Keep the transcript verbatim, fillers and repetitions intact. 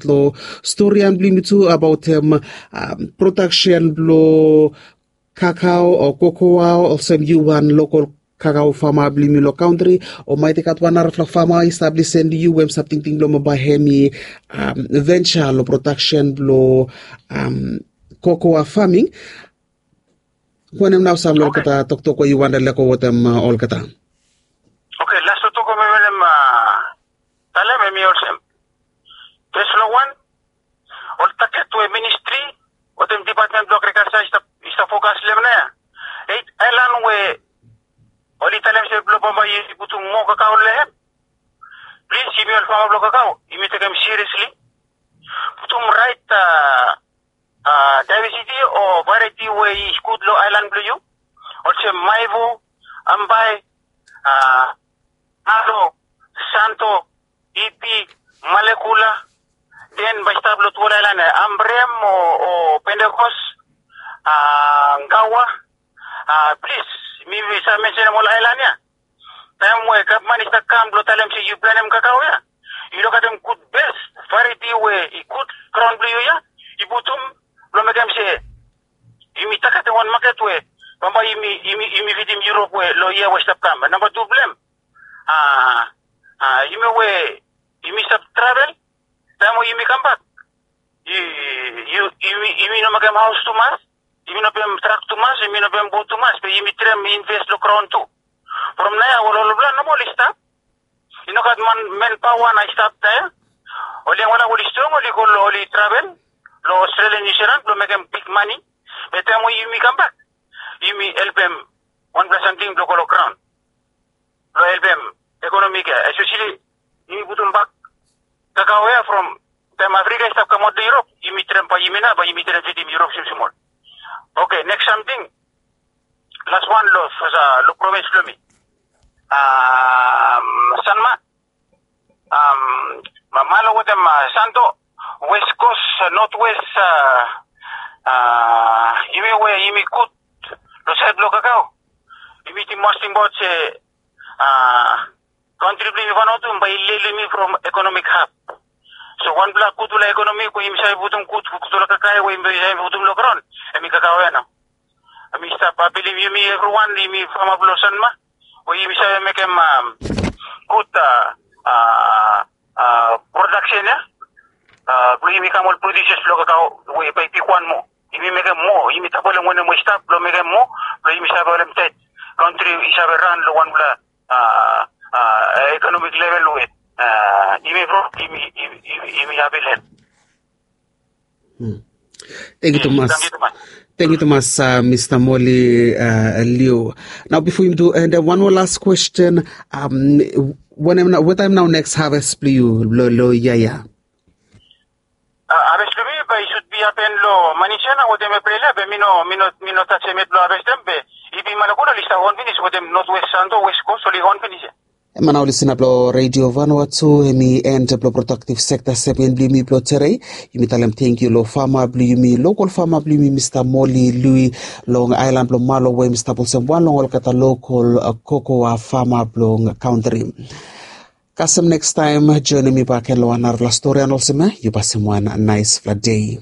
lo storian blong yumi tu abaotem prodaksen blong kakao o kokoa olsem yu wan lokol kakao fama blong yumi long kantri. O maet i gat wan narafala fama i stap lisen long yu we hem stap tingting blong bae hem i venture long prodaksen blong kokoa faming. Wanem nao sam long olgeta toktok we yu wantem lego wetem olgeta? Oke, las toktok we mi wantem talem hem i olsem. Fes long wan, ol taget we ministri wetem dipatmen blong agrikalsa i stap fokas long hem nao ya, eit aelan we oli talem se blong bambae i putum moa kakao long hem. Plis, yumi ol fama blong kakao yumi tekem siriesli. Putum raet daevesiti o varieti we i gud long aelan blong yu, olsem maivo, ambae, alo, santo, ipi, malekula. Den bae i stap long tufala aelan ya, ambrem o pentekos, gawa. Plis, mi save mensenem ol aelan ya. Taem we gavman i stap kam blong talem se yu planem kakao ya, yu lukaotem gud bes varieti we i gud graon blong yu ya, i putum blong mekem se yumi tagetem wan maket we bambae yumi fidim Yurop we long yia we i stap kam. Namba tu blong hem, yumi we yumi stap travel, taem we yumi kambak, yumi no mekem haos tumas, yumi no pem trak tumas, yumi no pem bot tumas, be yumi traem inves long graon tu. From nao ya ol olfala nomo oli stap. I no gat manpaoa nao i stap nao ya. Ol yangfala we oli strong oli go long, oli travel long Australia, Niu Silan blong mekem bigmane. Be taem we yumi kambak, yumi helpem wanpela samting blong go long graon blong helpem ekonomi ya, espeseli yumi putumbak kakao ya from taem Afrika i stap kamaot long Yurop, yumi traem bae yumi nao bae yumi traem fidim Yurop smol smol. Oke, neks samting, las wan long provins blong mi. Sanma, malo wetem Santo, West Coast, North West, yumi we yumi gud long saed blong kakao. Yumi mas tingbaot se kantri blong yumi Vanuatu bae i lele yumi from ekonomik hab. So wanpela gudfala ekonomi we yumi save putum gud, gudfala kakae we yumi save putum long graon, hem i kakao ya nao. Hem i stap apilim yumi evriwan, yumi fama blong Sanma, we yumi save mekem gud prodaksen ya blong yumi kam ol prodiusas blong kakao we bae i bigwan moa. Yumi mekem moa, yumi dabolem wanem we i stap blong mekem moa, blong yumi save holem taet kantri i save ran long wanpela ekonomik level we yumi bro, yumi apilim. Thank you tumas. Thank you tumas, Mista Moli Liu. Nao bifo yumi tu, and wan moa las kwesten. Wanem nao, wetaem nao neks haves blong yu long yia ya? Haves blong mi bae i sud bi hapen long Manis ya nao wetem Epril ya, be mi no, mi no, mi no tajem yet blong havestem, be i bi malekula oli stap on finis wetem North West Santo, West Coast oli on finis ya. Em nao listener blong Radio Vanuatu, hem i end blong productive sector segment blong yumi blong tere. Yumi talem tangkiu long fama blong yumi, lokol fama blong yumi, Mista Moli Liu, long aelan blong Malo, we hem i stap olsem wan long olgeta lokol kokoa fama blong kantri. Kasem nekstaem, joenem mi bakegen long wan narafala stori. Olsem ya, yu pasim wan naesfala dei.